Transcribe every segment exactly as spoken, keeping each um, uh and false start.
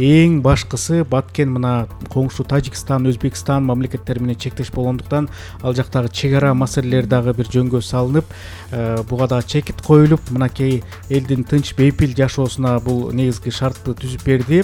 эң башкысы Баткен мына коңшу Тажикстан, Өзбекстан мамлекеттери менен чектеш болгондуктан ал жактагы чек ара маселелери дагы бир жөнгө салынып, буга дагы чекит коюлуп, мынакей элдин тынч бейпил жашоосуна бул негизги шартты түзүп берди.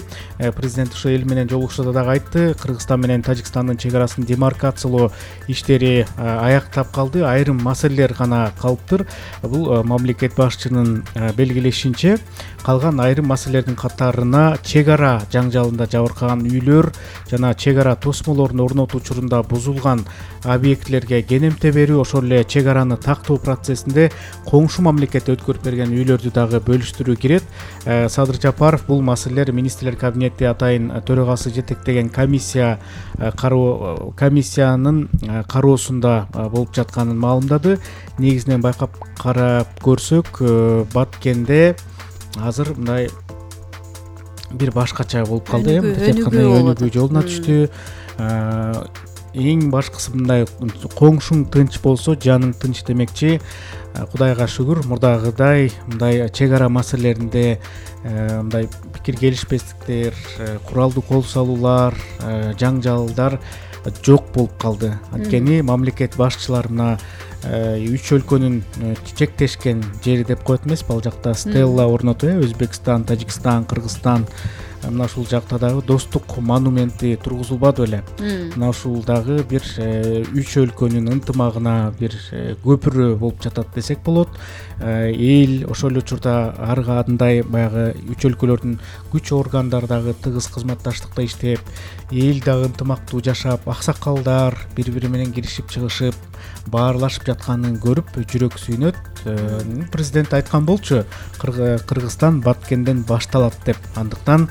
Президент ошо эл менен жолугушууда дагы айтты, Кыргызстан менен Тажикстандын чек арасын демаркациялоо иштери аяктап калды, айрым маселелер гана калыптыр. Бул мамлекет башчынын белгилешинче, калган айрым маселелердин катарына чек ара жаңжалында жабыркаган үйлөр жана чек ара тосмолорун орнотуу учурунда бузулган объектилерге кенемте берүү, ошол эле чек араны тактоо процессинде коңшу мамлекет өткөрүп берген үйлөрдү дагы бөлүштүрүү кирет. Садыр Жапаров бул маселелер министрлер кабинети атайын төрагасы жетектеген комиссия кароо комиссиянын кароосунда болуп жатканын маалымдады. Негизинен байкап карап көрсөк, Баткенде азыр мындай бир башкача болуп калды, өнүгүү жолуна түштү. Эң башкысы мындай коңшуң тынч болсо жаның тынч демекчи. Кудайга шүгүр, мурдагыдай мындай чек ара маселелеринде мындай пикир келишпестиктер, куралдуу кол салуулар, жаңжалдар жок болуп калды. Анткени мамлекет башчылары мына үч өлкөнүн чектешкен жери деп коет эмеспи, ал жакта стелла орнотуп, Өзбекстан, Тажикстан, Кыргызстан, мына ушул жакта дагы достук монументи тургузулбады беле. Мына ушул дагы бир үч өлкөнүн ынтымагына бир көпүрө болуп жатат десек болот. Эл ошол эле учурда ар кандай баягы үч өлкөлөрдүн күч органдары дагы тыгыз кызматташтыкта иштеп, эл дагы ынтымактуу жашап, аксакалдар бири-бири менен киришип чыгышып, баарлашып жатканын көрүп жүрөк сүйнөт. Президент айткан болчу, Кыргызстан Баткенден башталат деп. Андыктан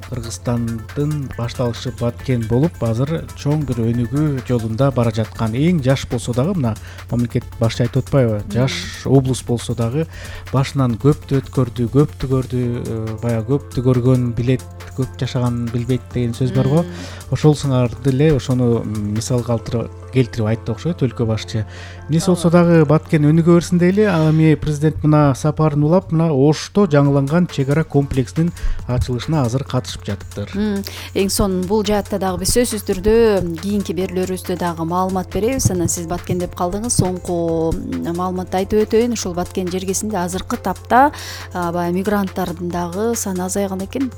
Кыргызстандын башталышы Баткен болуп, азыр чоң бир өнүгүү жолунда бара жаткан. Эң жаш болсо дагы, мына мамлекет башчы айтып атпайбы, жаш облус болсо дагы башынан көптү өткөрдү, көптү көрдү, баягы көптү көргөн билет, көп жашаганын билбейт деген сөз бар го. Ошол сыңарды эле ошону мисал келтирип айтты окшойт өлкө башчы. Эмнеси болсо дагы Баткен өнүгө берсин дейли. Ал эми президент мына сапарын улап, мына Ошто жаңыланган чек ара комплексинин ачылышына азыр катышып жатыптыр. Эң сонун бул жаатта дагы биз сөзсүз түрдө кийинки берүүлөрүбүздө дагы маалымат беребиз. Анан сиз Баткен деп калдыңыз, соңку маалыматты айтып өтөйүн. Ушул Баткен жергесинде азыркы тапта баягы мигранттардын дагы саны азайган экен.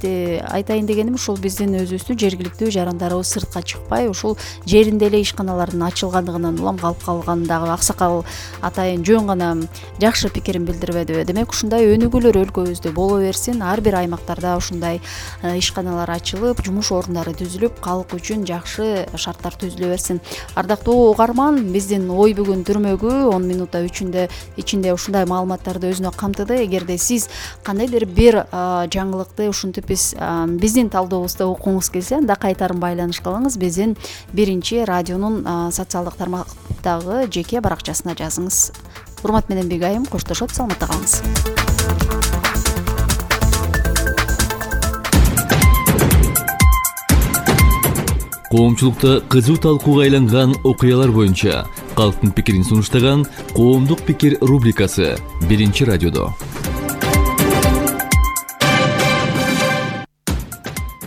Айтайын дегеним, ушул биздин өзүбүздүн жергиликтүү жарандарыбыз сыртка чыкпай, ушул жеринде эле ишканалардын ачылгандыгынан улам калып калгандагы аксакал атайын жөн гана жакшы пикирин билдирбедиби. Демек ушундай өнүгүүлөр өлкөбүздө боло берсин. Ар бир аймактарда ушундай ишканалар ачылып, жумуш орундары түзүлүп, калк үчүн жакшы шарттар түзүлө берсин. Ардактуу угарман, биздин ой бүгүн түрмөгү он минутта үчүндө ичинде ушундай маалыматтарды өзүнө камтыды. Эгерде сиз кандайдыр бир жаңылыкты ушинтип биз биздин талдообузда окуңуз келсе, анда кайтарым байланыш кылыңыз. Биздин биринчи радионун социалдык тармактагы жеке баракчасына жазыңыз. Урмат менен Бегайым коштошот, саламатта калыңыз. Коомчулукта кызуу талкууга айланган окуялар боюнча калктын пикирин сунуштаган Коомдук пикир рубрикасы биринчи радиодо.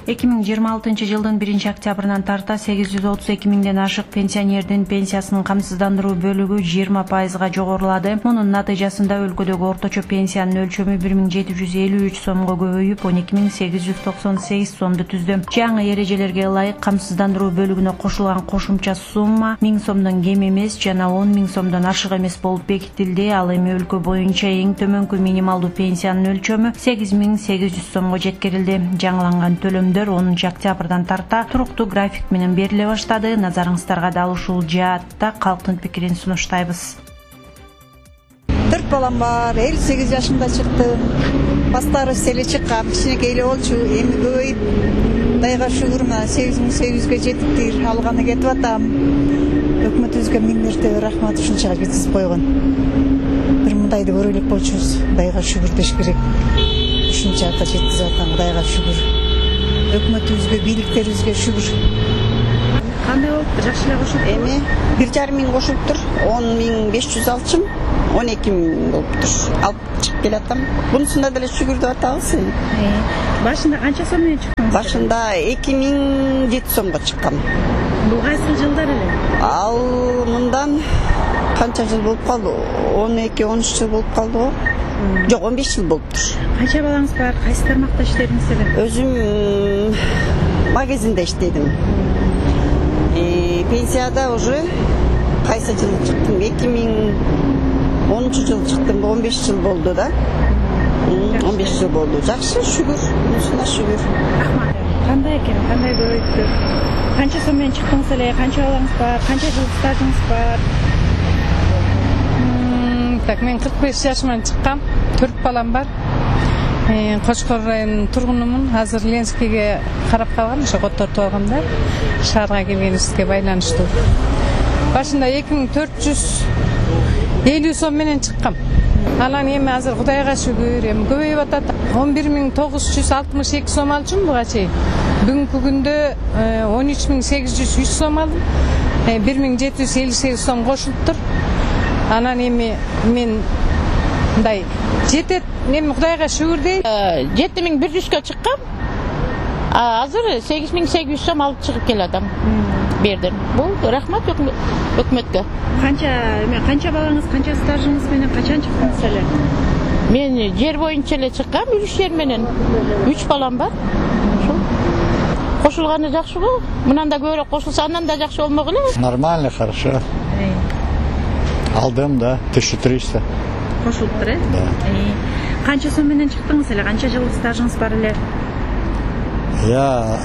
эки миң жыйырма алтынчы жылдын биринчи октябрынан тарта сегиз жүз отуз эки миңден ашык пенсионердин пенсиясынын камсыздандыруу бөлүгү жыйырма пайызга жогорулады. Мунун натыйжасында өлкөдөгү орточо пенсиянын өлчөмү бир миң жети жүз элүү үч сомго көбөйүп, он эки миң сегиз жүз токсон сегиз сомду түздү. Жаңы эрежелерге ылайык камсыздандыруу бөлүгүнө кошулган кошумча сумма миң сомдон кем эмес жана он миң сомдон ашык эмес болуп бекитилди. Ал эми өлкө боюнча эң төмөнкү минималдуу пенсиянын өлчөмү сегиз миң сегиз жүз сомго жеткирилди. Жаңыланган төлөмдөр онунчу октябрдан тарта туруктуу график менен бериле баштады. Назарыңыздарга дал ушул жаатта калктын пикирин сунуштайбыз. Төрт балам бар, элүү сегиз жашымда чыктым. Баштары селе чыккан, кичинекей эле болчу, эми көбөйүп, Кудайга шүгүр, мына сегиз миң сегиз жүзгө жеттик, алганы кетип атам. Өкмөтүбүзгө миң мәртебе рахмат, ушунчага жеткизип койгон. Бир мындайды көрө элек болчубуз, Кудайга шүгүр деш керек. Ушунчага жеткизип аткан, Кудайга шүгүр. Өкмөтүбүзгө, бийликтерибизге шүгүр. кандай болуптур? Жакшы эле кошулуптур? Эми бир жарым миң кошулуптур. он миң беш жүз алчым, он эки миң болуптур. Алып чыгып келатам. Бунусунда деле шүгүр деп атабыз. Башында канча сом менен чыктыңыз? Башында эки миң жети сомго чыккам. Бул кайсы жылдар эле? Ал мындан канча жыл болуп калды? он эки он үч жыл болуп калды го. Жок, он беш жыл болуптур. Канча балаңыз бар? Кайсы тармакта иштедиңиз эле? Өзүм магазинде иштедим. Э, пенсияда уже кайсы жылы чыктым? эки миң онунчу жылы чыктым. он беш жыл болду да. он беш жыл болду. Жакшы, шүгүр. Мусуна шүгүр. Рахмат. Кандай экен? Кандай көбөйттү? Канча сом менен чыктыңыз эле? Канча балаңыз бар? Канча жыл стажыңыз бар? Так, мен кырк беш жашыман чыккам. төрт балам бар. Кочкор районунун тургунумун. Азыр Ленскийге карап калгам, ошо коттортуп алгам да. Шаарга келгенибизге байланыштуу. Башында эки миң төрт жүз элүү сом менен чыккам. Анан эми азыр Кудайга шүгүр, эми көбөйүп атат. он бир миң тогуз жүз алтымыш эки сом алчумун буга чейин. Бүгүнкү күндө он үч миң сегиз жүз үч сом алдым. бир миң жети жүз элүү сегиз сом кошулуптур. Анан эми мен мындай жетет, эми Кудайга шүгүр дейт. жети миң бир жүзгө чыккам. Азыр сегиз миң сегиз жүз сом алып чыгып келатам. Бердим. Бул рахмат өкмөткө. Канча, эме канча балаңыз, канча стажыңыз менен качан чыктыңыз эле? Мен жер боюнча эле чыккам, үч жер менен. үч балам бар. Ошол. Кошулганы жакшы го. Мындан да көбүрөөк кошулса, андан да жакшы болмок эле. Нормально, хорошо. Алдым, да, тысяча триста. Кошулуптур, э? Да. Канча сом менен чыктыңыз эле? Канча жыл стажыңыз бар эле? Я...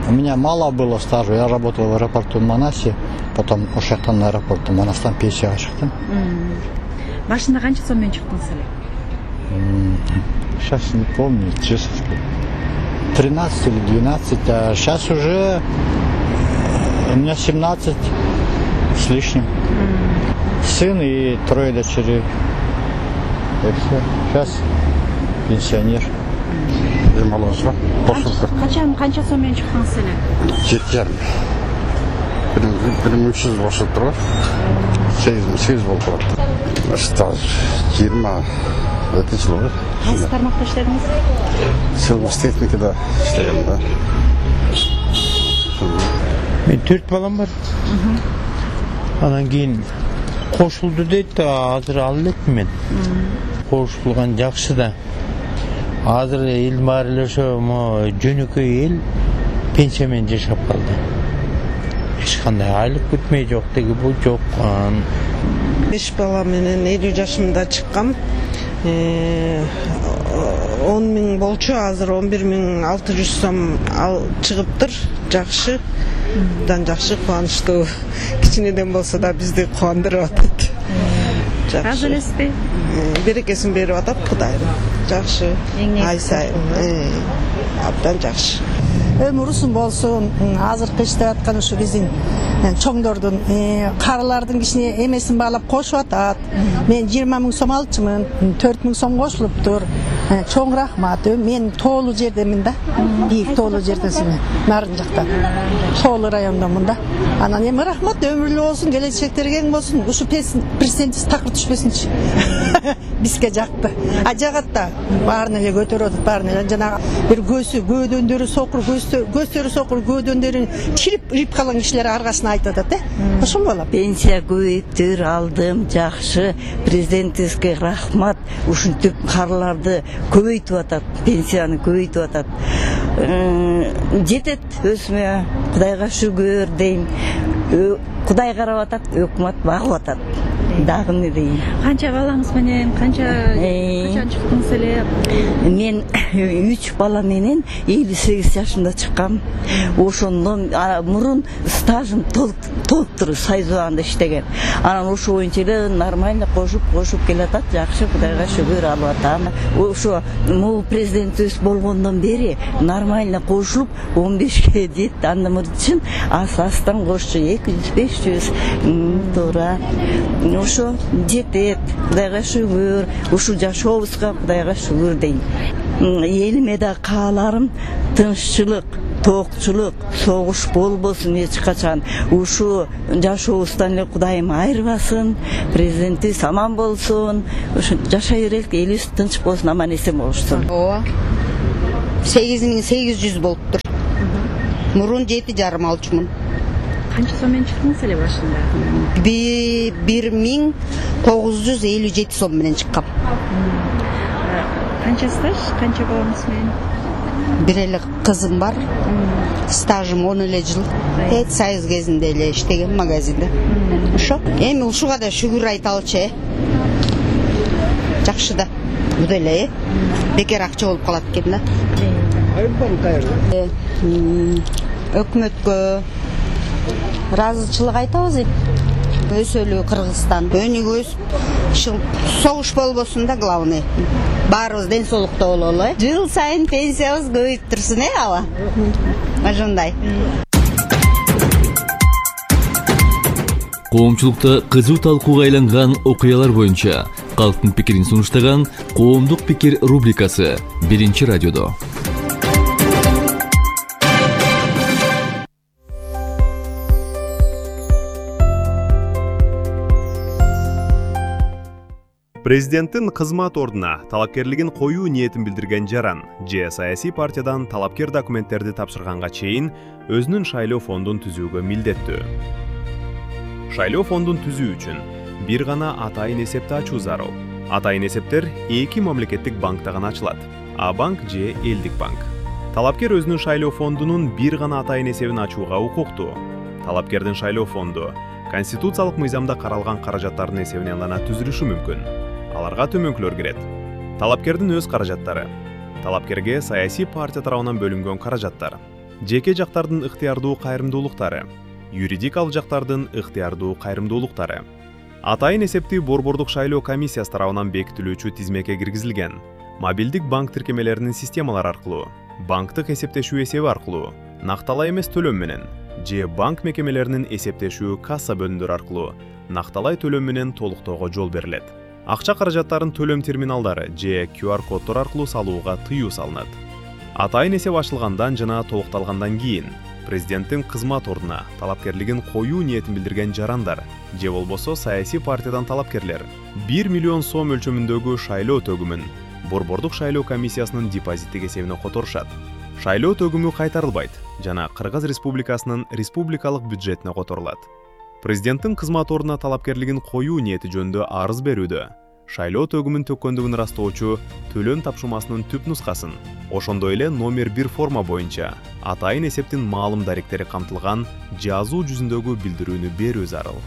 У меня мало было стажа. Я работал в аэропорту в Манасе, потом у жактан аэропорту Манастан пенсияга чыктым. Башында канча сом менен чыктыңыз эле? Сейчас не помню, честно сказать. тринадцать или двенадцать, а сейчас уже у меня семнадцать с лишним. Сын и трое дочерей. И все. Сейчас пенсионер. Демалышка кошулуптур. Качан канча сом менен чыктыңыз эле? жети жарым. бир миң үч жүз кошулуптур го. сегиз миң сегиз болуп калат. Стаж жыйырма жети жыл болду. Кайсы тармакта иштедиңиз? Силмас техникада иштегем да. Мен төрт балам бар. Анан кийин кошулду дейт, азыр ал элекмин мен. Кошулган жакшы да. Азыр эл баары эле ошо жөнөкөй эл пенсия менен жашап калды. Эч кандай айлык күтмөй жок деги бул жок. беш бала менен элүү жашымда чыккам. он миң болчу, азыр он бир миң алты жүз сом ал чыгыптыр. Жакшы. Дан жакшы, кубанычтуу. Кичинеден болсо да бизди кубандырып атат. Разы элесизби? Берекесин берип атат Кудайым. Жакшы. Ай сайын. Абдан жакшы. Өмүр узун болсун. Азыркы иштеп аткан ушу биздин чоңдордун, карылардын кичине эмесин баалап кошуп атат. Мен жыйырма миң сом алчумун, төрт миң сом кошулуптур. Чоң рахмат. Мен тоолуу жердемин да. Бийик тоолуу жердесин. Нарын жакта. Тоолуу райондомун да. Анан эми рахмат, өмүрлүү болсун, келечектери кең болсун. Ушу президентибиз такыр түшпөсүнчү. Бизге жакты. А жагатта баарын эле көтөрүп атат, баарын эле жана бир көзү, көөдөндөрү сокур, көздөрү сокур, көөдөндөрүн чирип ирип калган кишилер аргасына айтып атат, э? Ошол болот. Пенсия көбөйүптүр, алдым, жакшы. Президентибизге рахмат. Ушинтип карыларды көбөйтүп атат, пенсияны көбөйтүп атат. Жетет өзүмө, Кудайга шүгүр дейм. Кудай карап атат, өкмөт багып атат. Дагы эмне дейин? Канча балаңыз менен, канча качан чыктыңыз эле? Мен үч бала менен элүү сегиз жашымда чыккам. Ошондон мурун стажым толуптур, Сайзуанда иштеген. Анан ошо боюнча эле нормально кошуп, кошуп келатат. Жакшы, Кудайга шүгүр алып атам. Ошо могу президентибиз болгондон бери нормально кошулуп он бешке жетти. Андан үчүн ас-астан кошчу эки жүз беш жүз туура. Ошо жетет, Кудайга шүгүр. Ушу жашообузга Кудайга шүгүр дейм. Элиме да кааларым тынччылык, тоокчулук, согуш болбосун эч качан. Ушу жашообуздан эле Кудайым айырбасын, президентибиз аман болсун, ушу жашай берелик, элибиз тынч болсун, аман эсен болушсун. Ооба. сегиз миң сегиз жүз болуптур. Мурун жети жарым алчумун. Канча сом менен чыктыңыз эле башында? бир миң тогуз жүз элүү жети сом менен чыккам. Канча стаж, канча балаңыз менен? Бир эле кызым бар. Стажым он эле жыл. Эт Союз кезинде эле иштеген магазинде. Ошо. Эми ушуга да шүгүр айталычы, э. Жакшы да. Бу деле, э. Бекер акча болуп калат экен да. Өкмөткө ыраазычылык айтабыз. Өсөлүү Кыргызстан. Өнүгөбүз. Согуш болбосун да, главный. Баарыбыз ден соолукта бололу, э. Жыл сайын пенсиябыз көбөйүп турсун, э, ала. Ошондой. Коомчулукта кызуу талкууга айланган окуялар боюнча калктын пикирин сунуштаган Коомдук пикир рубрикасы биринчи радиодо. Президенттин кызмат ордуна талапкерлигин коюу ниетин билдирген жаран же саясий партиядан талапкер документтерди тапшырганга чейин өзүнүн шайлоо фондун түзүүгө милдеттүү. Шайлоо фондун түзүү үчүн бир гана атайын эсепти ачуу зарыл. Атайын эсептер эки мамлекеттик банкта гана ачылат: А банк же Элдик банк. Талапкер өзүнүн шайлоо фондунун бир гана атайын эсебин ачууга укуктуу. Талапкердин шайлоо фонду конституциялык мыйзамда каралган каражаттардын эсебинен гана түзүлүшү мүмкүн. Аларга төмөнкүлөр кирет. Талапкердин өз каражаттары, талапкерге саясий партия тарабынан бөлүнгөн каражаттар, жеке жактардын ыктыярдуу кайрымдуулуктары, юридик алжактардын ыктыярдуу кайрымдуулуктары. Атайын эсепти борбордук шайлоо комиссиясы тарабынан бекитилүүчү тизмеке киргизилген. Мобилдик банк тиркемелеринин системалары аркылуу, банктык эсептешүү эсеби аркылуу, накталай эмес төлөм менен же банк мекемелеринин эсептешүү касса бөлүмдөрү аркылуу накталай төлөм менен толуктоого жол берилет. Акча каражаттарын төлөм терминалдары же кью ар коддор аркылуу салууга тыюу салынат. Атайын эсеп ачылгандан жана толукталгандан кийин президенттин кызмат ордуна талапкерлигин коюу ниетин билдирген жарандар же болбосо саясий партиядан талапкерлер бир миллион сом өлчөмүндөгү шайлоо төгүмүн борбордук шайлоо комиссиясынын депозиттик эсебине которушат. Шайлоо төгүмү кайтарылбайт жана Кыргыз Республикасынын республикалык бюджетине которулат. Президенттин кызмат ордуна талапкерлигин коюу ниети жөнүндө арыз берүүдө шайлоо төгүмүн төккөндүгүн ырастоочу төлөм тапшырмасынын түп нускасын, ошондой эле номер бир форма боюнча атайын эсептин маалым даректери камтылган жазуу жүзүндөгү билдирүүнү берүү зарыл.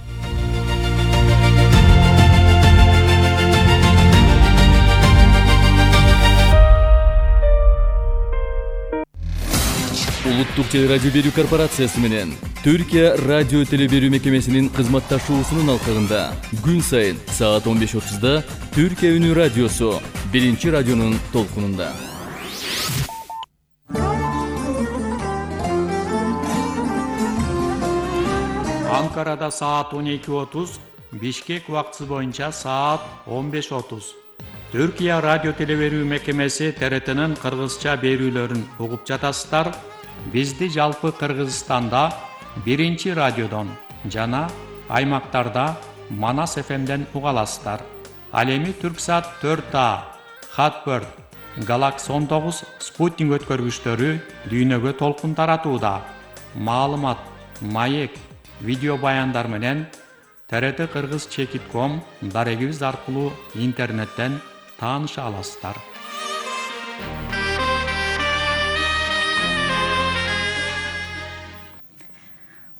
Улуттук телерадио берүү корпорациясы менен Түркия радио телеберүү мекемесинин кызматташуусунун алкагында күн сайын саат он беш отузда Түркия үнү радиосу биринчи радионун толкунунда. Анкарада саат он эки отуз, Бишкек убактысы боюнча саат он беш отуз. Түркия радио телеберүү мекемеси Т Р Т'нын кыргызча берүүлөрүн угуп жатасыздар. Бизди жалпы Кыргызстанда биринчи радиодон жана аймактарда Манас эф эмден уга аласыздар. Ал эми Түрксат төрт А, Хатбird, Galaxy он тогуз спутник өткөргүчтөрү дүйнөгө толкун таратууда. Маалымат, маек, видео баяндар менен Т Р Т Кыргыз чекит ком дарегибиз аркылуу интернеттен тааныша аласыздар.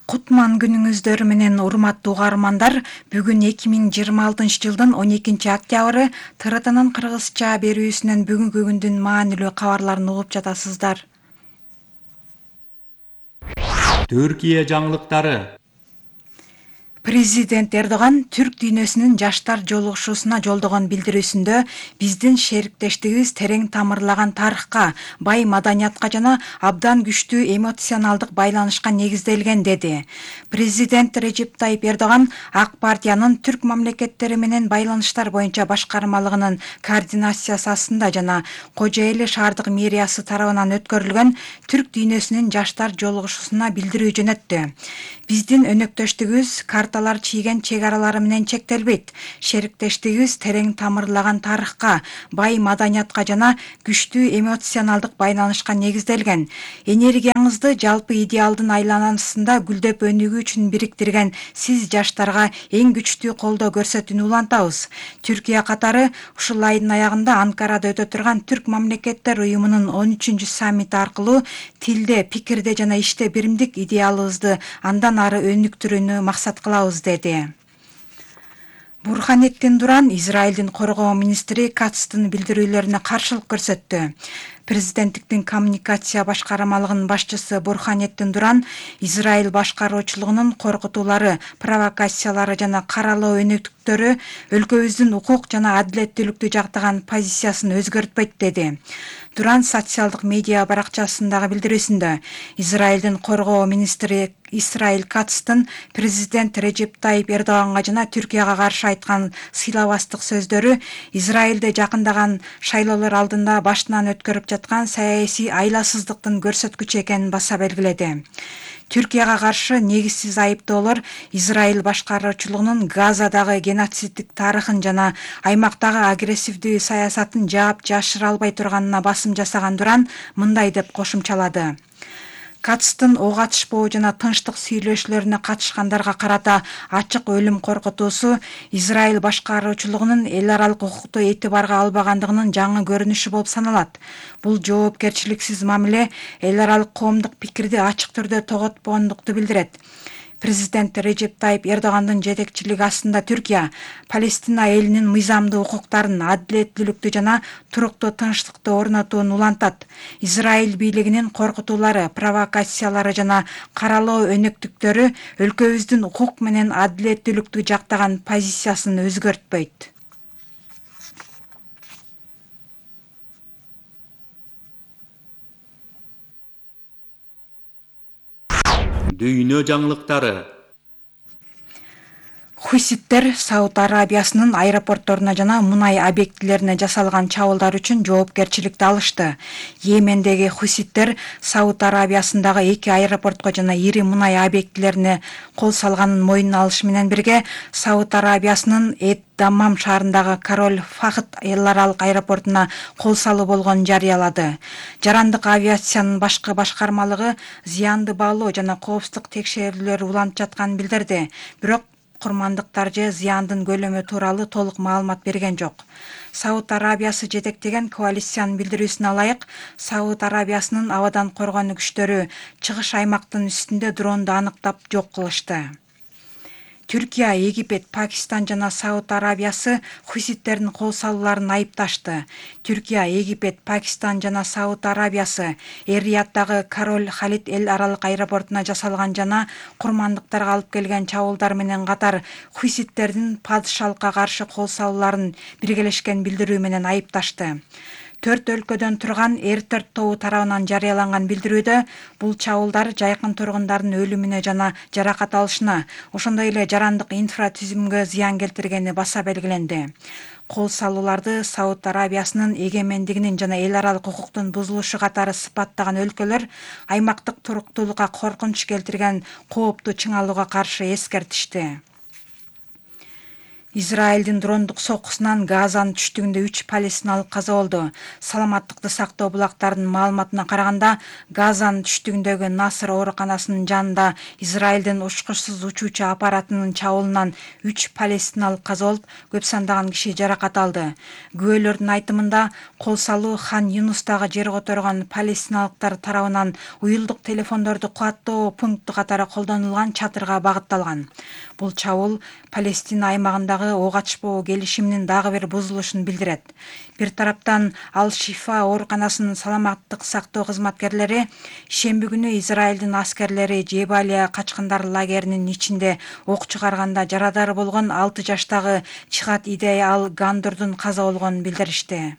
Кутман күнүңүздөр менен урматтуу угармандар, бүгүн эки миң жыйырма алтынчы жылдын он экинчи октябры Т Р T'нын кыргызча берүүсүнөн бүгүнкү күндүн маанилүү кабарларын угуп жатасыздар. Түркия жаңылыктары. Президент Эрдоган түрк дүйнөсүнүн жаштар жолугушуусуна жолдогон билдирүүсүндө биздин шериктештигибиз терең тамырлаган тарыхка, бай маданиятка жана абдан күчтүү эмоционалдык байланышка негизделген деди. Президент Режеп Тайип Эрдоган ак партиянын түрк мамлекеттери менен байланыштар боюнча башкармалыгынын координациясы астында жана Кожо Эли шаардык мэриясы тарабынан өткөрүлгөн түрк дүйнөсүнүн жаштар жолугушуусуна билдирүү жөнөттү. Биздин өнөктөштүгүбүз карталар чийген чек аралары менен чектелбейт. Шериктештигибиз терең тамырлаган тарыхка, бай маданиятка жана күчтүү эмоционалдык байланышка негизделген. Энергияңызды жалпы идеалдын айланасында гүлдөп өнүгүү үчүн бириктирген сиз жаштарга эң күчтүү колдоо көрсөтүүнү улантабыз. Түркия катары ушул айдын аягында Анкарада өтө турган Түрк мамлекеттер уюмунун он үчүнчү саммити аркылуу тилде, пикирде жана иште биримдик идеалыбызды андан ары өнүктүрүүнү максат кылабыз деди. Бурханеттин Дуран Израилдин коргоо министри Кацтын билдирүүлөрүнө каршылык көрсөттү. Президенттиктин коммуникация башкармалыгынын башчысы Бурханеттин Дуран Израиль башкаруучулугунун коркутуулары, провокациялары жана каралоо өнөктүктөрү өлкөбүздүн укук жана адилеттүүлүктү жактаган позициясын өзгөртпөйт деди. Дуран социалдык медиа баракчасындагы билдирүүсүндө Израилдин коргоо министри Исраиль Кацтын президент Режеп Тайип Эрдоганга жана Түркияга каршы айткан сыйлабастык сөздөрү Израилде жакындаган шайлоолор алдында башынан өткөрүп жаткан саясий айласыздыктын көрсөткүчү экенин баса белгиледи. Түркияга каршы негизсиз айыптоолор Израиль башкаруучулугунун Газадагы геноциддик тарыхын жана аймактагы агрессивдүү саясатын жаап жашыра албай турганына басым жасаган Дуран мындай деп кошумчалады. Кацтын ок атышпоо жана тынчтык сүйлөшүүлөрүнө катышкандарга карата ачык өлүм коркутуусу Израиль башкаруучулугунун эл аралык укукту этибарга албагандыгынын жаңы көрүнүшү болуп саналат. Бул жоопкерчиликсиз мамиле эл аралык коомдук пикирди ачык түрдө тоготпогондукту билдирет. Президент Режеп Тайип Эрдогандын жетекчилиги астында Түркия Палестина элинин мыйзамдуу укуктарын, адилеттүүлүктү жана туруктуу тынчтыкты орнотууну улантат. Израиль бийлигинин коркутуулары, провокациялары жана каралоо өнөктүктөрү өлкөбүздүн укук менен адилеттүүлүктү жактаган позициясын өзгөртпөйт. Дүйнө жаңылыктары. Хуситтер Сауд Арабиясынын аэропортторуна жана мунай объектилерине жасалган чабуулдар үчүн жоопкерчиликти алышты. Йемендеги хуситтер Сауд Арабиясындагы эки аэропортко жана ири мунай объектилерине кол салганын мойнуна алышы менен бирге Сауд Арабиясынын Эд-Даммам шаарындагы Король Фахд эл аралык аэропортуна кол салуу болгонун жарыялады. Жарандык авиациянын башкы башкармалыгы зыянды баалоо жана коопсуздук текшерүүлөрү уланып жатканын билдирди. Бирок курмандыктар же зыяндын көлөмү тууралуу толук маалымат берген жок. Сауд Арабиясы жетектеген коалициянын билдирүүсүнө ылайык, Сауд Арабиясынын абадан коргонуу күчтөрү чыгыш аймактын үстүндө дронду аныктап жок кылышты. Түркия, Египет, Пакистан жана Сауд Арабиясы хуситтердин кол салууларын айыпташты. Түркия, Египет, Пакистан жана Сауд Арабиясы Эр-Рияddагы Король Халид эл аралык аэропортуна жасалган жана курмандыктарга алып келген чабуулдар менен катар хуситтердин падышалыкка каршы кол салууларын биргелешкен билдирүү менен айыпташты. Төрт өлкөдөн турган Эр-төрт тобу тарабынан жарыяланган билдирүүдө бул чабуулдар жайкын тургундардын өлүмүнө жана жаракат алышына, ошондой эле жарандык инфратүзүмгө зыян келтиргени баса белгиленди. Кол салууларды Сауд Арабиясынын эгемендигинин жана эл аралык укуктун бузулушу катары сыпаттаган өлкөлөр аймактык туруктуулукка коркунуч келтирген коопту чыңалууга каршы эскертишти. Израилдин дрондук соккусунан Газанын түштүгүндө үч палестиналык каза болду. Саламаттыкты сактоо булактарынын маалыматына караганда, Газанын түштүгүндөгү Наср ооруканасынын жанында Израилдин учкучсуз учуучу аппаратынын чабуулунан үч палестиналык каза болуп, көп сандаган киши жаракат алды. Күбөлөрдүн айтымында, кол салуу Хан Юнустагы жер которгон палестиналыктар тарабынан уюлдук телефондорду кубаттоо пункту катары колдонулган чатырга багытталган. Бул чабуул Палестина аймагындагы арасындагы ок ачпоо келишиминин дагы бир бузулушун билдирет. Бир тараптан Ал Шифа ооруканасынын саламаттык сактоо кызматкерлери шемби күнү Израилдин аскерлери Жебалия качкындар лагеринин ичинде ок чыгарганда жарадар болгон алты жаштагы Чихат Идей Ал Гандурдун каза болгонун билдиришти.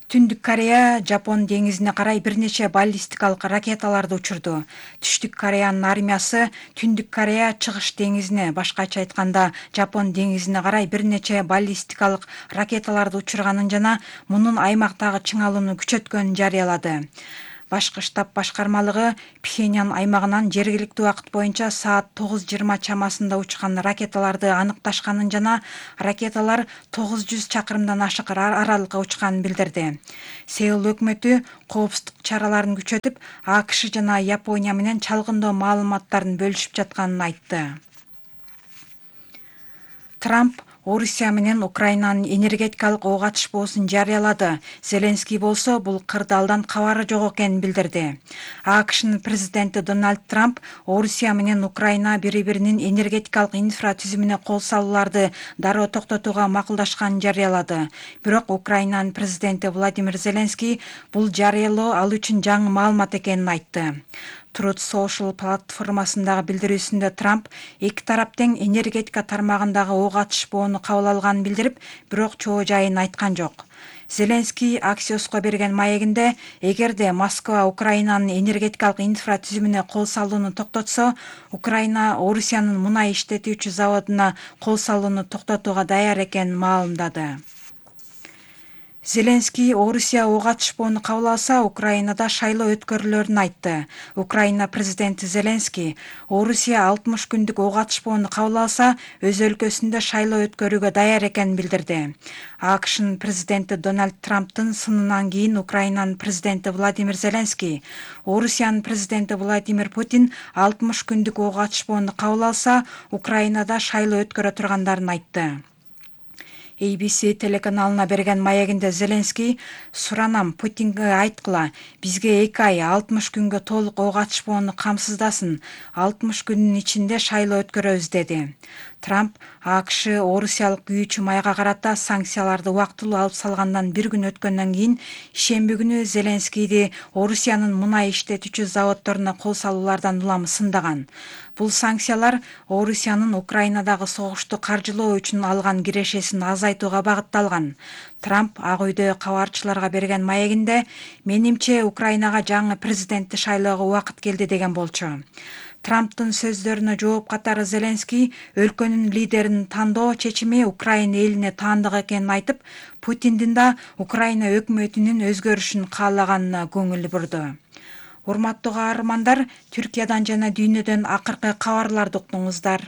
Түндүк Корея Жапон деңизине карай бир нече баллистикалык ракеталарды учурду. Түштүк Кореянын армиясы Түндүк Корея Чыгыш деңизине, башкача айтканда Жапон деңизине карай бир нече баллистикалык ракеталарды учурганын жана мунун аймактагы чыңалууну күчөткөнүн жарыялады. Башкы штаб башкармалыгы Пхеньян аймагынан жергиликтүү убакыт боюнча саат тогуз жыйырма чамасында учкан ракеталарды аныкташканын жана ракеталар тогуз жүз чакырымдан ашык аралыкка учканын билдирди. Сеул өкмөтү коопсуздук чараларын күчөтүп, АКШ жана Япония менен чалгындоо маалыматтарын бөлүшүп жатканын айтты. Трамп Орусия менен Украинанын энергетикалык ок атышпоосун жарыялады. Зеленский болсо бул кырдаалдан кабары жок экенин билдирди. АКШнын президенти Дональд Трамп Орусия менен Украина бири-биринин энергетикалык инфратүзүмүнө кол салууларды дароо токтотууга макулдашканын жарыялады. Бирок Украинанын президенти Владимир Зеленский бул жарыялоо ал үчүн жаңы маалымат экенин айтты. Truth Social платформасындагы билдирүүсүндө Трамп эки тарап тең энергетика тармагындагы ок атышпоону кабыл алганын билдирип, бирок чоо жайын айткан жок. Зеленский Axios'ко берген маегинде, эгерде Москва Украинанын энергетикалык инфратүзүмүнө кол салууну токтотсо, Украина Орусиянын мунай иштетүүчү заводуна кол салууну токтотууга даяр экенин маалымдады. Зеленский Орусия ок атышпоону кабыл алса, Украинада шайлоо өткөрүлөрүн айтты. Украина президенти Зеленский Орусия алтымыш күндүк ок атышпоону кабыл алса, өз өлкөсүндө шайлоо өткөрүүгө даяр экенин билдирди. АКШнын президенти Дональд Трамптын сынынан кийин Украинанын президенти Владимир Зеленский Орусиянын президенти Владимир Путин алтымыш күндүк ок атышпоону кабыл алса, Украинада шайлоо өткөрө тургандарын айтты. A B C телеканалына берген маегинде Зеленский суранам Путинге айткыла, бизге эки ай алтымыш күнгө толук ок атышпоону камсыздасын, алтымыш күндүн ичинде шайлоо өткөрөбүз деди. Трамп АКШ Орусиялык күйүүчү майга карата санкцияларды убактылуу алып салгандан бир күн өткөндөн кийин шемби күнү Зеленскийди Орусиянын мунай иштетүүчү заводдоруна кол салуулардан улам сындаган. Бул санкциялар Орусиянын Украинадагы согушту каржылоо үчүн алган кирешесин азайтууга багытталган. Трамп Ак үйдө кабарчыларга берген маегинде, менимче Украинага жаңы президентти шайлоого убакыт келди деген болчу. Трамптын сөздөрүнө жооп катары Зеленский өлкөнүн лидерин тандоо чечими Украина элине таандык экенин айтып, Путиндин да Украина өкмөтүнүн өзгөрүшүн каалаганына көңүл бурду. Урматтуу каармандар, Түркиядан жана дүйнөдөн акыркы кабарларды уктуңуздар.